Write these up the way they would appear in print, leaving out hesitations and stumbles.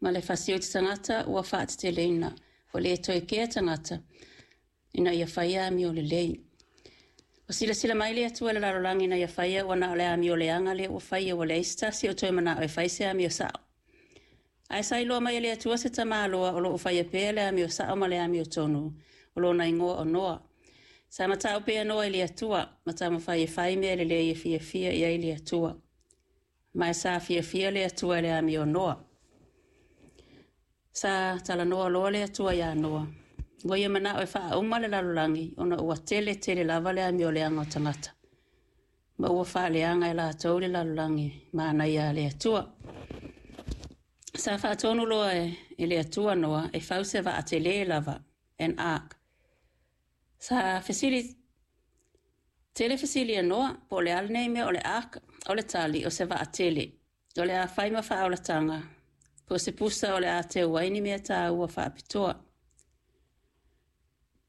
Ma le fasioti tagata ua faateteleina, ua le toe kea tagata ina ia faia amio lelei. Ua silasila mai le Atua i le lalolagi na ia faia ua na o le amio leaga lea ua faia, ua leai se tasi o toe manao e fai se amio sao. Ae sa iloa mai e le Atua se tamaloa o lo o faia pea le amio sao ma le amio tonu, o lona igoa o Noa. Sa matau pea Noa i le Atua, ma taumafai e fai mea lelei e fiafia i ai le Atua. Ma e sa fiafia le Atua i le amio o Noa. Sa talanoa loa le Atua iā Noa, ua ia manao e faauma le lalolagi ona ua tele tele lava le amio leaga o tagata, ma ua faaleaga e latou le lalolagi manaia a le Atua. Sa faatonu loa e le Atua Noa e fau se vaa tele lava, an ark. Sa fesili tele fesili a Noa, po o le a lenei mea o le ark, o le tali o se vaa tele. O le a fai ma faaolataga, po o se pusa o le a teu ai ni mea tāua faapitoa.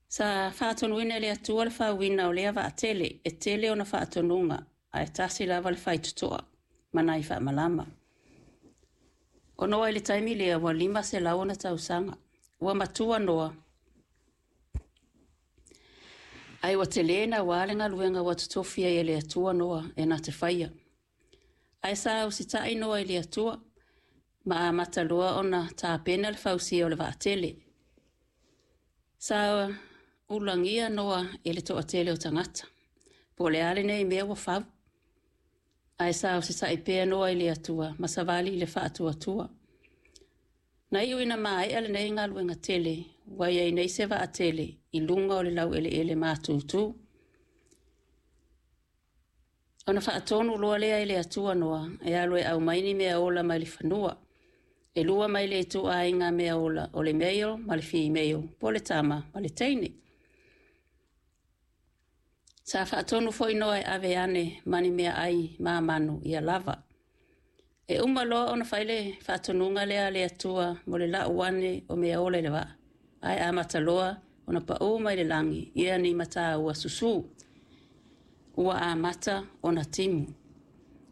Sa faatonuina e le Atua le fauina o lea vaa tele, e tele ona faatonuga, ae tasi lava le faitotoa ma nai faamalama. O Noa i le taimi lea ua 500 ona tausaga. Ua matua Noa, ae ua tele naua le galuega ua totofi ai e le Atua Noa e na te faia. Ae sa usitai Noa i le Atua, ma amata loa ona tapena le fausia o le vaatele. Sa ulagia Noa e le toatele o tagata, po o le a lenei mea ua fau. Ae sa usitai pea Noa i le Atua ma savali i le faatuatua. Na iu ina maea lenei galuega tele, ua i ai nei se vaatele i luga o le laueleele matutu. Ona faatonu loa lea e le Atua Noa e alu e aumai ni mea ola mai le fanua. E lua mai le ituaiga mea ola, o le male ma le female, po o le tama ma le teine. Sa faatonu foi Noa e ave ane ma ni meaai ma manu ia lava. E uma loa ona fai le faatonuga lea a le Atua mo le lau ane o mea ola i le vaa, ae amata loa ona paū mai le lagi ia ni mata ua susū. Ua amata ona timu.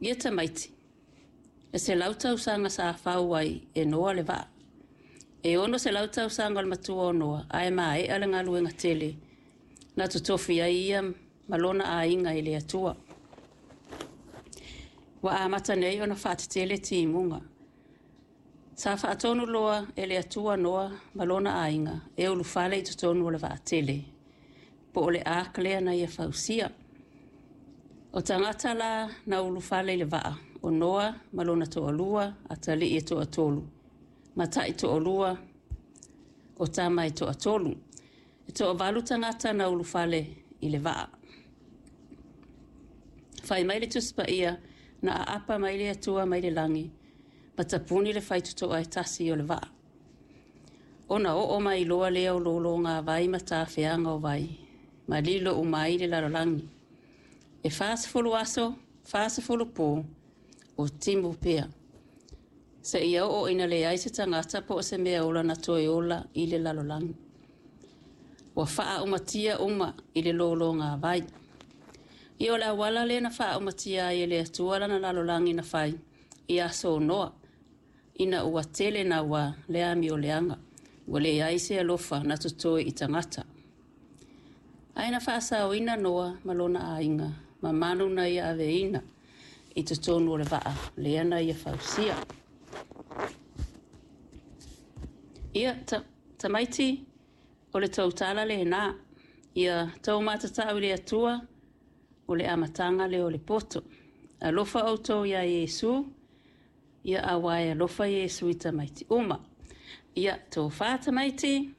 Ia tamaiti, e 100 tausaga sa fau ai e Noa le vaa. E 600 tausaga o le matua o Noa, ae maea le galuega tele na totofi ai ia ma lona aiga i le Atua. Ua amata nei ona faatetele timuga. Sa faatonu loa e le Atua Noa ma lona aiga e ulufale i totonu o le vaatele, po o le ark lea na ia fausia. O tagata la na ulufale i le vaa, o Noa ma lona toalua, atalii e toatolu, ma taʻi toalua, o tama e toatolu. E toavalu tagata na ulufale i le vaa. Fai mai le Tusi Paia, na aapa mai le Atua mai le lagi, ma tapuni le faitotoa e tasi o le vaa. Ona oo mai loa lea o lōlōgāvai ma tafeaga o vai, ma lilo uma ai le lalolagi. E 40 aso, 40 pō, o timu pea. Seia oo ina leai se tagata po o se mea ola na toe ola i le lalolagi. Ua faaumatia uma i le lōlōgāvai. Ia o le auala lea na faaumatia ai e le Atua lana lalolagi na fai i aso o Noa, ina ua tele naua le amio leaga, ua leai se alofa na totoe i tagata. Ae na faasaoina Noa ma lona aiga, ma manu na ia aveina i totonu o le vaa lea na ia fausia. Ia, tamaiti, o le tou tala lenā, ia tou matatau i le Atua, o le amataga lea o le poto. Alofa outou iā Iesu, ia auā e alofa Iesu i tamaiti uma. Ia, tofa tamaiti.